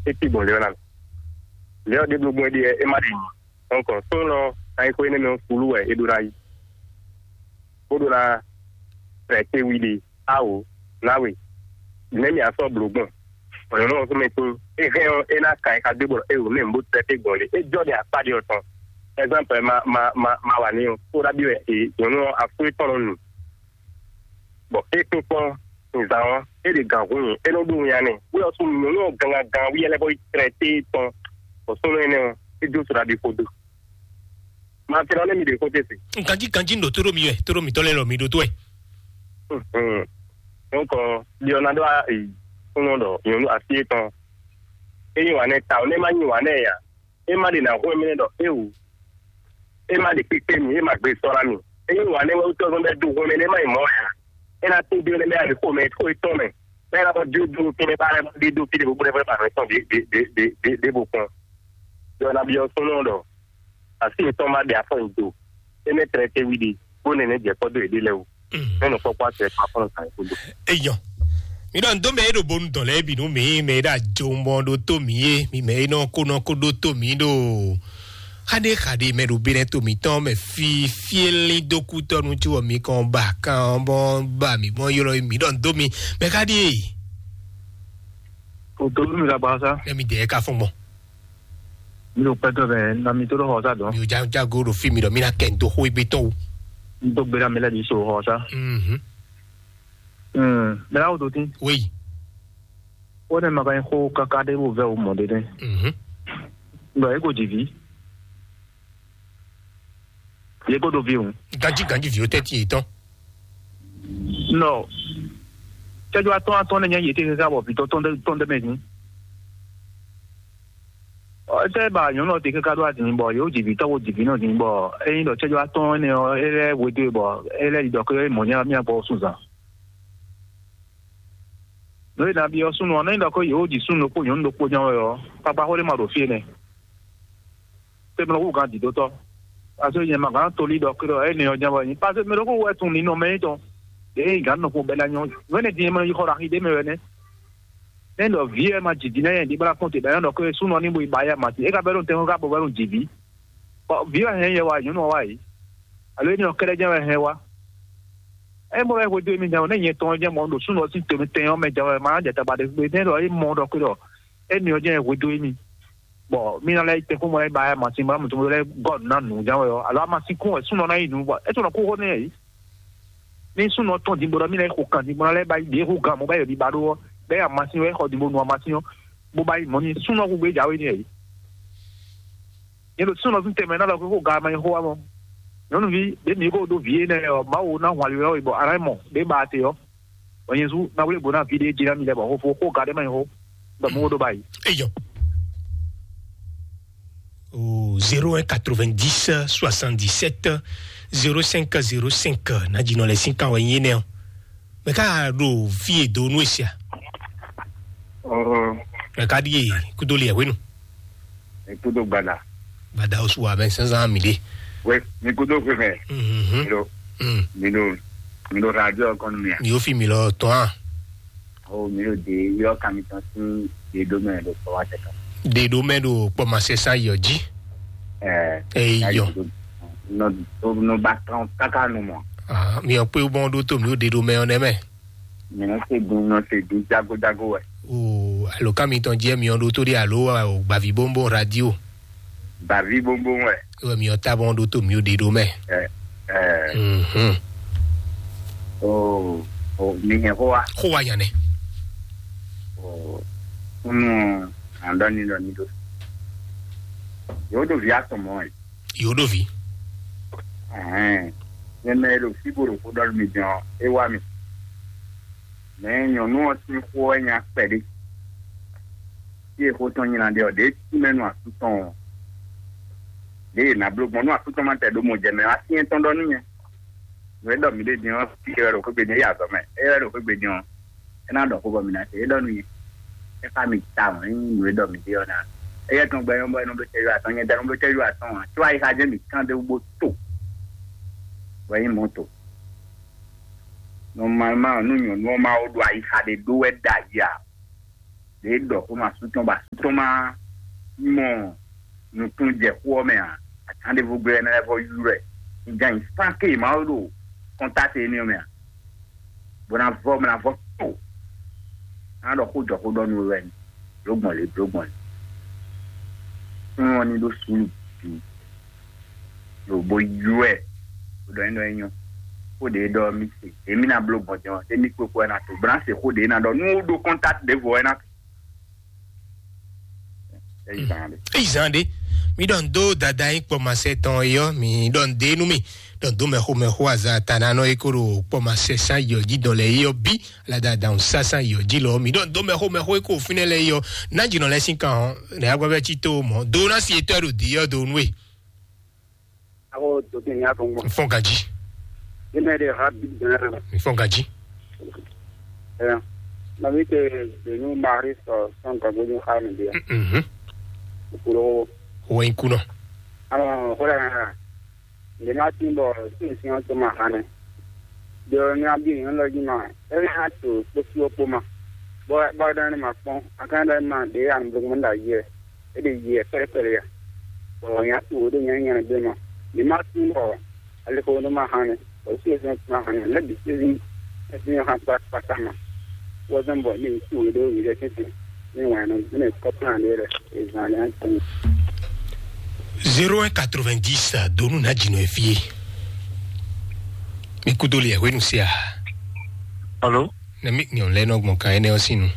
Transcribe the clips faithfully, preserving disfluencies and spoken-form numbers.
é cí gbɔn lě ɔ́ ná mɛ. Lě ɔ́ ɖěbǔ gbɔn é ɖíe é má ɖi nyi. Donc súnnu ɔ́, ayixo énɛ́ mɛ ɔ́, sulú wɛ é ɖó ná yi, bó ɖó ná trɛtɛ wi ɖe. Awo, náwe, nɛ̌ mì a sɔ́ blǒ gbɔn? Bɔ nyɔ̌nu ɔ́ súnmɛ tín, é hɛn ɔ́, é ná ka e ka dó bɔ é wǒ mɛ bó trɛtɛ gbɔn lě. É jɔ ɖe akpá ɖé ɔ́ tɔn. Exemple, ma ma ma ma wa ní ɔ́, kó ɖa bí wɛ é nyɔ̌nu ɔ́ afú étɔn nɔ nu. Bɔ é kpínkpɔ́n nizan ɔ́, é ɖe gǎn hun nyi, é nɔ ɖó winnyá n'i. Wí ɔ́ sú nyɔ̌nu ɔ́ gangan gan wí ɛlɛ́ bɔ yi trɛtɛ tɔn, bɔ súnnu énɛ́ ɔ́, é jó so ɖaɖi xó dó. Ma tlɔ nú mi ɖě xó tɛ́ se. Ganjí ganjí un ɖo tó ɖó mi wɛ, tó ɖó mǐtɔn lɛ́ɛ lɔ mi ɖó tó wɛ. Donc, ɖiɔ ná ɖó súnnu ɖɔ nyɔ̌nu así étɔn. É nyi wǎn nɛ́ ta ɔ́, nɛ́ má nyi wǎn nɛ́ ǎ. É má ɖe ná hwɛ́n mɛ ɖɔ éwu. É má ɖe kpíkpé mì, é má gbé sɔ́ ná mì. É nyi wǎn nɛ́ wɛ wútu ɔ́ zɔ́n bɛ́ dó hwɛ́n mɛ nɛ́ má nyi mɔ̌ ǎ. É ná tín dó nɛ́ bɛ́ ɖo xó mɛ, xó yětɔn mɛ. Bɛ́ ná bɔ jó dó kɛ́nɛ́ ba lɛ́ bɔ ɖé dó fí ɖé bó bó ɖɛ́ bá nɔ tɔn ɖěbǔ kpɔ́n. Ɖɔ ná byɔ́ súnnu ɖɔ así yětɔn má ɖe afɔ nyi do. É nɛ́ tlɛ tɛ́ wí ɖe, bó nɛ́ nɛ́ jɛ kpɔ́ dó yěɖée lɛ́ɛ wú. Mɛ nɔ kpɔ́kpɔ́ asɛ kpa fɔ́n nɔ kan yě kúndó. Eyɔ. Mi ɖɔ ndo mɛ e ɖo bonu dɔn lɛ́ɛ bǐ nú mi, mɛ e ɖo ajomɔ ɖó tó mi é, mi mɛ e nɔ ko nɔ ko ɖó tó mi ɖo xaɖé xaɖé mɛ ɖo bínɛ tó mǐtɔn mɛ fí fíélí dó kútɔ́ nú cí wɔ mi kɔn ba kan bɔ ba mi mɔ ylɔ mi ɖɔ ndo mi mɛ xaɖé. O tó mi la ba sa. Mɛ mi dɛ ka fɔn gbɔn. Mi ɖo pɛtɔ mɛ na mi tó ɖo xɔ sa dɔn. Mi ò já jágo ɖo fí mi ɖɔ mi ná kɛ ndo xó egbe tɔn o. N tó gbéra mi lɛ di so xɔ sa. Mhm. Hmm, mɛ la o tó tin. Oui. Ó nɛ ma ka nyí xó káká ɖé bó vɛ́ wǔ mɔ̌ ɖé nɛ́. Mhm. Ɖɔ é ko jǐ vǐ. Yě ko ɖo vǐ hǔn. Ganjí ganjí vǐ ó tɛ́ntin yětɔn. Nɔ cɛ́jú atɔ́ atɔ́ nɛ́ nyɛ yě tɛ́ káká bɔ vǐ tɔn tɔn ɖé tɔn ɖé mɛ hǔn. Ɔ, étɛ́ ba nyɔ̌nu ɔ́ te káká ɖó adǐn bɔ yě wǒ jǐ vǐ tɔn bó jǐ vǐ nɔ dín bɔ ényí ɖɔ cɛ́jú atɔ́ énɛ́ ɔ́, é lɛ́ hwedó e bɔ é lɛ́ yi ɖɔ xó é mɔ̌ nyá mì abɔ sunnzan. Nǔ e nǎ byɔ́ súnnu ɔ́, nɛ́ ɖɔ xó yě wǒ ji súnnu ɖokpó nyɔ̌nu ɖokpó ján wɛ ɔ́, kpakpa xó ɖé ma ɖo fí énɛ́. Tɛ́mɛ hú gán dǐdótɔ́. Paseke nyɛ ma gǎn tolí ɖɔ xó ɖɔ énɛ́ ɔ́ ján wɛ nyí. Paseke mɛ ɖokpó wɛ tunwun ninɔ mɛ nyí tɔn. Ɖěe gǎn nɔ kpɔ́n bɛ́ ná nyɔ́. Nǔ énɛ́ din e ma yí xɔ ɖo axi ɖé mɛ wɛ nɛ́. Nɛ́ ɖɔ vǐ e ma jǐ din ná nyɛ ɖě bá kɔn te bɛ́ ná ɖɔ xó súnnu ɔ́ ní bo yi ba yá mati. É ka bɛ́ ɖo tɛnxɔ ká bɔ bɛ́ ɖo jǐ vǐ. Bɔ vǐ wɛ hɛn yɛ wá, nyɔ̌nu ɔ́ wá yě. Alo énɛ́ ɔ́ kɛ́ɖɛ́ ján wɛ hɛn wá. É mɔ wɛ hwedó émí jɛ́n ɔ́, nɛ́ nyɛ tɔn ɔ́ jɛ́n mɔ ɖo súnnu ɔ́ sín to tɛn ɔ́ mɛ jɛ́n wɛ, ma ná jɛ tagba ɖé gbé, nɛ́ ɖɔ é mɔ ɖɔ xwé ɖɔ émí ɔ́ jɛ́n hwedó émí, bɔ mí ná lɛ́ yi tɛ́nkpɔ́n mɔ lɛ́ ba yá masin bɔ ná mɔ̌ tɔn lɛ́ gɔ́ nǔ ná nǔ jɛ́n wɛ ɔ́, alo amasin kún wɛ súnnu ɔ́ ná yi nǔ, bɔ é tɔn nɔ kú xó n'i ǎ é. Ní súnnu ɔ́ tɔ́n din bó ɖɔ mí ná yi xo kan din bó ná lɛ́ ba yi ɖě xo gan mɔ̌ ba yi ɖɔ mi ba ɖó ɔ́, bɛ́ yi amasin wɛ é xɔ din bó nu amasin ɔ́, bó ba yi mɔ̌ n'i súnnu ɔ́ xo gbé jǎwe n'i ǎ é. Nyɛ ɖo súnnu ɔ́ sín tɛnmɛ ná ɖɔ xó ga ma nyí xó wá mɔ. Nyɔ̌nuví ɖě mi ko ɖó vǐ énɛ́ ɔ́, Mawu ná hwan ali wɛ bɔ a nǎ mɔ ɖě ba te ɔ́. Bɔ nyɛ sú ná wlé bo ná vǐ ɖé jí ná mi lɛ bɔ xófó xó ga ɖé ma nyí xó. Bɔ mú wo ɖó ba yi. Eyɔ. O zéro un quatre-vingt-dix soixante-dix-sept zéro cinq zéro cinq. Ná jínɔ lɛ sín kan wɛ nyí énɛ́ ɔ́. Mɛ ká ɖo fí e do nú e sia. Ɔɔ. Mɛ ká ɖíe kúdó liɛ hwenu. Ekudo gbada. Gbada osu wa bɛ sɛnsɛn mi ɖe. We, mi kudo fwe mɛ. Mhm. Mi ɖo, Mm. Mi ɖo, mi ɖo radio kɔn mi a. Mi yóò fi mi lɔ tɔn a. O mi ɖo de yɔ kami tɔn sin de do mɛ ɖo kpɔ wa tɛ kan. De do mɛ ɖo kpɔ ma sɛ sa yɔ ji. Ɛɛ. Eyi yɔ. Nɔ, nɔ ba tɔn kaka nu mɔ. Ah, mi yɔ pé bɔn ɖó tó mi ó de do mɛ ɔ nɛ mɛ. Mi nɔ se dun, nɔ se dun jago jago wɛ. O alo ká mi tɔn jɛ mi ɔ ɖó tó ɖe alo o gbavi bónbó radio. Gbavi bónbó wɛ. Wɛ mi ɔ ta bɔn ɖó tó mi ó de ɖó mɛ. Ɛ ɛ. Mhm. O o mi hɛn xó wa. Xó wa yan nɛ. O kúnnú àndɔ ni ɖɔ ni ɖó. Yóò ɖo vi atɔn mɔ ɛ. Yóò ɖo vi. Ɛhɛn. Nyɛ mɛ e ɖo fí bo ɖo xó ɖɔ nú mi din ɔ́, é wá mi. Mɛ nyɔ̌nu ɔ́ sín xó wɛ nya kpɛɖé. Fí e xó tɔn nyi ná ɖe ɔ́, ɖě tínmɛ nú asú tɔn ɔ́, ɖě yě ná bló gbɔn nú asú tɔn ma tɛ ɖó mɔ jɛ mɛ wá syɛ́n tɔn ɖɔ nú nyɛ. Nǔ e ɖɔ mǐ ɖe din ɔ́, fí e wɛ ɖo xwé gbe din é yi azɔ̌ mɛ. É wɛ ɖo xwé gbe din ɔ́, é ná ɖɔ xó bɔ mǐ ná se. É ɖɔ nú nyɛ, é xá mi tawun, é nyí nǔ e ɖɔ mǐ ɖe ɔ́ ná. Éyɛ́ tɔn gbɛ nyɔ́ bɔ é nɔ bló cɛ́jú atɔn, nyɛ tɛ nɔ bló cɛ́jú atɔn ǎ. Có ayixa jɛ́n mǐ kán ɖé wú bó to, bɔ é nyí mɔ̌ to. Normalement, nú nyɔ̌nu ɔ́ ma wó ɖo ayixa ɖé ɖó wɛ ɖ'ayǐ ǎ, ɖě ɖɔ xó ma sú tɔn bɔ asú tɔn ma mɔ nukúnnú jɛ xó ɔ́ mɛ ǎ. Atán ɖěvo gbé wɛ é ná lɛ́ vɔ ylɔ́ ɛ. Un jɛ ayǐ sán ké Mawu ɖo kɔntáte énɛ́ ɔ́ mɛ ǎ. Bó ná vɔ, bó ná vɔ tó. Ná ɖɔ xó jɔ xó ɖɔ nú we wɛ ni. Blǒ gbɔn lě, blǒ gbɔn lě. Fún ɔ́ ní ɖó suúlu bǐ. Ɖo bó ylɔ́ ɛ. Bó ɖɔ nyí ɖɔ é nyɔ́. Xó ɖě ɖɔ mì se. Èmi ná bló gbɔn jɛ́n ɔ́, émí kpékpé wɛ ná to. Bó ná se xó ɖě ná ɖɔ. Nú ó ɖó kɔntáte ɖěvo wɛ ná to. Eyi zan ɖe. Eyi zan ɖe. Mi ɖɔ ndo dada yín kpɔ ma sɛ tɔn yɔ, mi ɖɔ nde nú mi. Ɖɔ ndo mɛxo mɛxo aza ta na nɔ yi ko ɖo kpɔ ma sɛ san yɔ ji dɔn lɛ yɔ bi. La dada un sa san yɔ ji lɔ, mi ɖɔ ndo mɛxo mɛxo yi ko fínɛ lɛ yɔ. Na jinɔ lɛ sin kan ɔ, ne agbɛ bɛ ci to mɔ. Do na si etɔ ɖo di yɔ do nue. Ako to ti nya ko ngɔ. Fɔn gaji. Ina de ha bi dana. Fɔn gaji. Eh. Na mi te de nu mari so son ka go ha mi dia. Mhm. Kulo. Ho in kuno. Ano, hola na. Nde ma tin bɔ sin sin to ma hane. Do ni abi ni lo ji ma. E na to to si o po ma. Bo ba da ni ma kpɔn. Akan da ma de an blo mo da ye. E de ye pere pere ya. Bɔ nya to de nya nya de ma. Ni ma tin bɔ ale ko no ma hane. Bɔ si o ma hane. Le bi si si. E si ha pa pa ta ma. Wɔ zan bɔ ni tu do yi de tete. Ni wa no ne ko plan de re. E zan ya tin. Zéro un quatre-vingt-dix, donu na dzinɔ efie. Mi kudo le hwenu sia. Alo? Ne mi nyɔ lɛ nɔ gbɔn kan énɛ́ ɔ́ sín nu.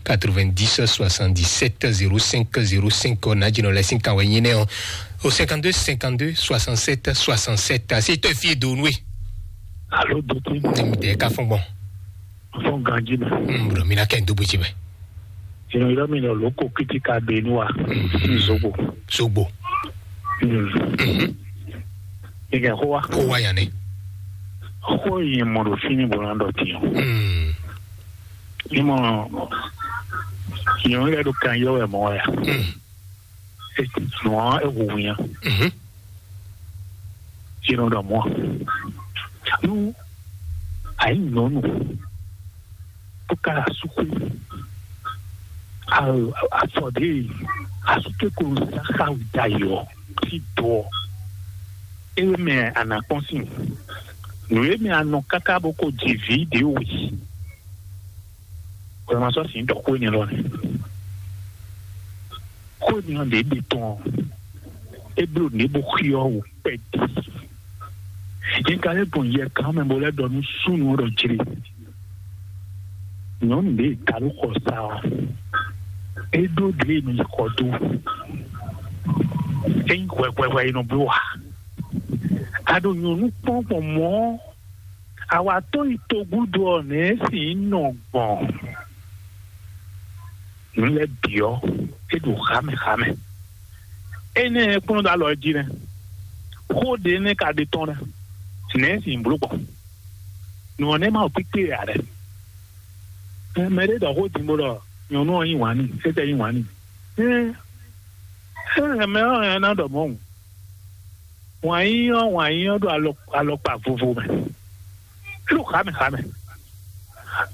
Quatre-vingt-dix, soixante-dix-sept, zéro cinq, zéro cinq, ɔ́, na dzinɔ lɛ sín kan wɛ nyí nɛ ɔ́. O cinquante-deux, cinquante-deux, soixante-sept, soixante-sept. Asi tɔ efie donu e. Alo, dote. Ne mi dɛ ka fɔn gbɔn. Fɔn ganji mɛ. Hmm, bro, mi na kɛ n dugbo ji mɛ. Ìrànlọ́wọ́ mi lọ lóko kítíkà bẹ̀ẹ́nu wa. Zogbo. Zogbo. Ìgbà kó wa. Kó wa yàn ni. Kó yẹn mọ̀ ló fi ní bọ̀lá dọ̀ tiyan. Ní mọ̀ yẹn lẹ́ do kan yọ ẹ̀ mọ́ ya. Nù ọ́ ẹ̀ wò wìyàn. Sínú ɖɔ mɔ nú ayǐ nyɔ̌nu bó ká asúkú afɔ ɖě asúkú ko sá xá wǔ dayɔ sí dɔ ɔ, é mɛ anakpɔ́n sín nǔ é mɛ anɔ káká bó ko ji vǐ ɖě wǔ yi. Wɛ ma sɔ́ sǐ ɖɔ xó énɛ́ lɔ nɛ́. Xó énɛ́ ɔ́ ɖě ɖe tɔn ɔ́, é bló nǔɖé bó xyɔ́ wǔ kpɛɖi. Nyɛ ka lɛ́ gbɔn yɛ gǎn mɛ bó lɛ́ ɖɔ nú súnnu ɔ́ ɖɔ jlé. Nyɔ̌nu ɖě e ta ɖó xɔ sa ɔ́, é ɖó ɖě e nɔ yi xɔ dó. É nyí hwɛhwɛhwɛ e nɔ bló ǎ. A ɖo nyɔ̌nu kpɔ́n gbɔn mɔ̌ ɔ́, awatɔ́ yi togúdo ɔ́, nɛ̌ é sǐ nɔ gbɔn? Nǔ lɛ́ɛ bǐ ɔ́, é ɖo xámɛ xámɛ. Énɛ́ e kplɔ́n ɖó alɔ jí nɛ́. Xó ɖě nɛ́ ka ɖe tɔn nɛ́. Nɛ̌ é sǐ bló gbɔn? Nǔ ɔ́ nɛ́ ma ɖo kpíkpé ǎ lɛ́. Mɛ ɖé ɖɔ xó din bó ɖɔ nyɔ̌nu ɔ́ yí wǎn n'i, étɛ́ yí wǎn n'i. Ée é hɛn mɛ ɔ́ hɛn ná ɖɔ mɔ̌ hǔn. Wǎn yíyí ɔ́, wǎn yíyí ɔ́ ɖo alɔ-, alɔkpa vovo mɛ. É ɖo xǎmɛ xǎmɛ.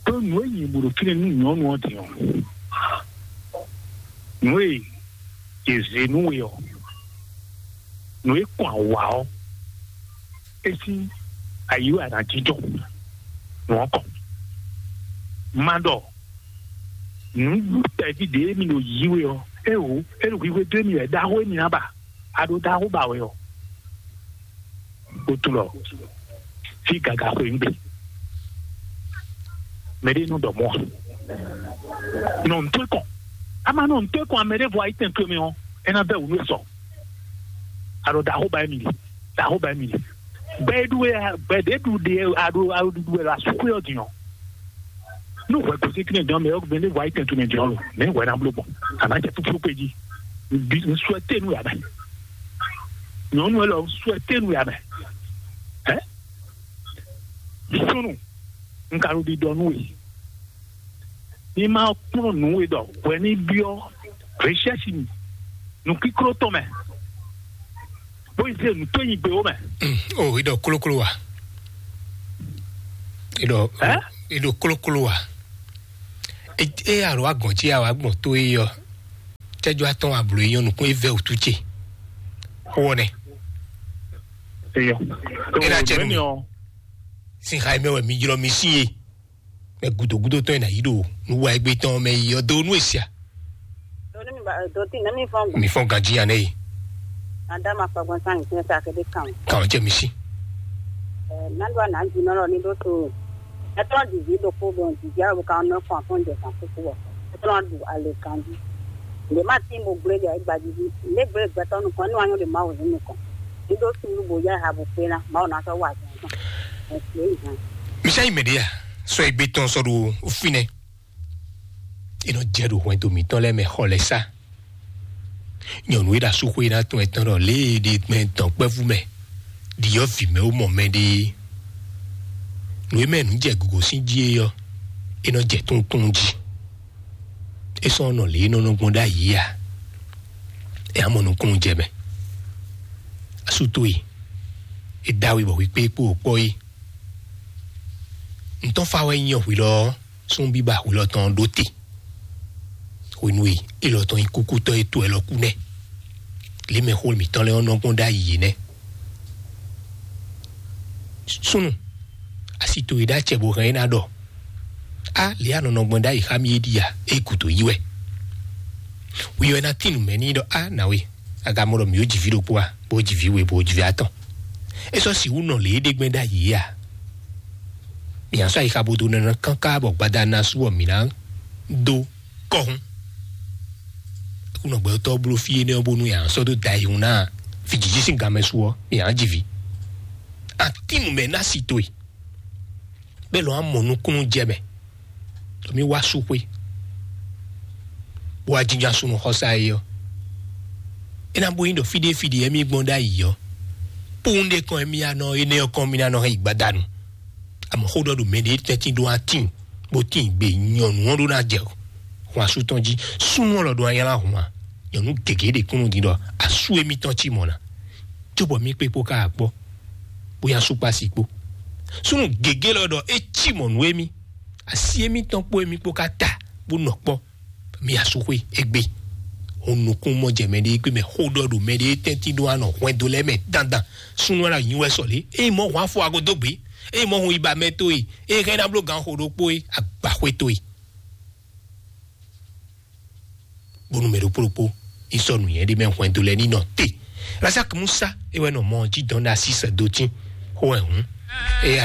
Ɖó nǔ e nyi bǔ ɖo fínɛ́ nú nyɔ̌nu ɔ́ din ɔ́, nǔ e è zě nú we ɔ́, nǔ e kɔn awǎ ɔ́, é sín ayi wɛ a nǎ jínjɔ́n nǔ ɔ́ kɔn. Ma ɖɔ nǔ tɛ́ví ɖě mi ɖo yí we ɔ́, é wǒ, é ɖo hwihwe dó émí wɛ ɖaxó émí ná ba. A ɖo ɖaxó ba wɛ ɔ́, ó tunwun ɖɔ fí gaga xwe nú gbe. Mɛ ɖé nɔ ɖɔ mɔ̌ ǎ. Nɔ ntɔ́ kɔn. A ma nɔ ntɔ́ kɔn, a mɛ ɖé vɔ ayí tɛn towe mɛ ɔ́, é ná bɛ́ wǔ nú e sɔ. A ɖo ɖaxó ba émí ɖi, ɖaxó ba émí ɖi. Bɛ́ é ɖu wɛ, bɛ́ ɖě ɖu ɖe a ɖo a ɖo ɖuɖu wɛ ɖo asúxwé ɔ́ din ɔ́. Nú hwɛ gosín kínní dɔn mɛ ɔ́, mɛ ɖé vɔ ayí tɛn towe mɛ din ɔ́ lo, mɛ hwɛ ná bló gbɔn. A nǎ jɛ fúfú kpé jí. Bi un suɛté nú yǎ mɛ. Nyɔ̌nu élɔ́ un suɛté nú yǎ mɛ. Ɛ? Súnnu, un ka ɖo ɖiɖɔ nú we. Ní ma kplɔ́n nǔ we ɖɔ hwɛ ní byɔ́ recherche mi, nǔkíkló tɔn mɛ, bó yi se nǔ tó nyi gbe ó mɛ. O, i ɖɔ klókló wa? I ɖɔ, Ɛ? I ɖɔ klókló wa? E e alo wa gɔn ce awa gbɔn to e yɔ. Tɛjɔ atɔn ablo e yɔ nukun e vɛ otu ce. Xo nɛ. Eyɔ. E na cɛ nu mi. Sin xa mɛ wɛ mi jlɔ mi si ye. Mɛ gudo gudo tɔn e na yi do nu wa egbe tɔn mɛ yi yɔ do nu esia. Doni mi ba doti ne mi fɔn. Mi fɔn ganji ya ne yi. Ada ma kpa gbɔn san ni sa ke de kan. Kan cɛ mi si. Ɛ na do ana ji nɔ lɔ ni do to. Ɛ tɔn di vi do ko bon di ja o kan nɔ fɔn fɔn de kan ko ko. Ɛ tɔn du ale kan di. Le ma ti mo gble de gba di. Le gble gbe tɔn nu kan ni wa nyɔ de ma wo ni kan. Ni do sulu bo ya ha bo pe na ma o na so wa. Ɛ se ni. Misa yi mɛ de ya. Sɔ egbe tɔn sɔ do finɛ. E nɔ jɛ ɖo hwɛndo mǐtɔn lɛ́ɛ mɛ xɔ lɛ́ɛ sá. Nyɔ̌nu e ɖo asúxwé ná tɔn ɛ tɔn ɖɔ lě e ɖe gbɛn dɔ̌nkpɛvú mɛ ɖi ɔ́ vǐ mɛ ó mɔ mɛ ɖé. Nǔ e mɛ nǔ jɛ gǔgǒ sín jí é ɔ́, é nɔ jɛ tónútónú jí. É sɔ́ nɔ lě e nɔ nɔ gbɔn ɖ'ayǐ ǎ. È á mɔ nukúnnú jɛ mɛ. Asú towe, é dó awu bɔ hwi kpé kpó wò kpɔ́ é. Ntɔ́n fa wɛ nyí hwi lɔ ɔ́, súnnu bíbá hwi lɔ tɔn ɖó te. Hwenu e élɔ́ tɔn nyí kúkútɔ́ e to ɛ lɔ kú nɛ́. Lě mɛ xó mǐtɔn lɛ́ɛ ɔ́ nɔ gbɔn ɖ'ayǐ é nɛ́. Súnnu, asi towe ɖó acɛ bó hɛn é ná ɖɔ. Á lě anɔnɔ gbɔn ɖ'ayǐ xá mì é ɖi a, é gǔdo yí wɛ. Wi wɛ ná tín nǔ mɛ n'i ɖɔ á nǎwe, agamɔ ɖɔ mǐ ó ji vǐ ɖokpó a, bó ji vǐ we bó ji vǐ atɔn. É sɔ́ sixú nɔ lě é ɖe gbɛn ɖ'ayǐ é a? Mǐ ná sɔ́ ayixa bo dó nɛnɛ káká bɔ gbada ná sú ɔ́ mǐ ná dó kɔ́hún. Kúnɔ gbɛtɔ́ bló fí énɛ́ ɔ́ bónú yǎ sɔ́ dó da yi hun ná fijiji sín ganmɛ su ɔ́, yǎ ji vǐ. Atín nǔ mɛ ná si towe, bɛ́ lɔn á mɔ nukúnnú jɛ mɛ. Ɖo mí wá sú xwé, bó wá jínjɔ́n asúnú xɔsá é ɔ́, é ná bó nyí ɖɔ fí ɖé fí ɖé ɛmí gbɔn ɖ'ayǐ ɔ́, kpóun ɖé kɔn ɛmí anɔ énɛ́ ɔ́ kɔn mí ná nɔ hɛn yi gbadanu. Àmọ́ xó ɖɔ ɖo mɛ ɖé tɛ́ntin ɖó atín bó tín gbe nyɔ̌nu ɔ́ ɖó ná jɛ hwan asú tɔn jí. Súnnu ɔ́ lɔ ɖó anyla hwan nyɔ̌nu gěgé ɖě kúnnú din ɖɔ asú émítɔn cí mɔ̌ ná, cóbɔ mí kpé kpó ká akpɔ́, bóyá súkpási kpó. Súnnu gěgé lɔ ɖɔ é cí mɔ̌ nú émí, así émítɔn kpó émí kpó ká ta bó nɔ kpɔ́. Mi asúxwé égbé. Hun nukún mɔ jɛ mɛ ɖé gbé mɛ xó ɖɔ ɖo mɛ ɖé tɛ́ntin ɖó anɔ hwɛndo lɛ́ɛ mɛ dandan. Súnnu ala nyi wɛ sɔlé. Eye mɔ hwan fɔ ago dó gbé. Eye mɔ hun iba mɛ tó e. Eye hɛn ná bló gan xo ɖokpó e agbaxwé tó e. Bónú mɛ ɖokpó ɖokpó yi sɔ nǔnyɛ ɖé mɛ hwɛndo lɛ́ɛ ní nɔ te. Razak Musa e wɛ nɔ mɔ jí dɔn ɖe así sɛ dó tín. Xó wɛ hǔn. Eya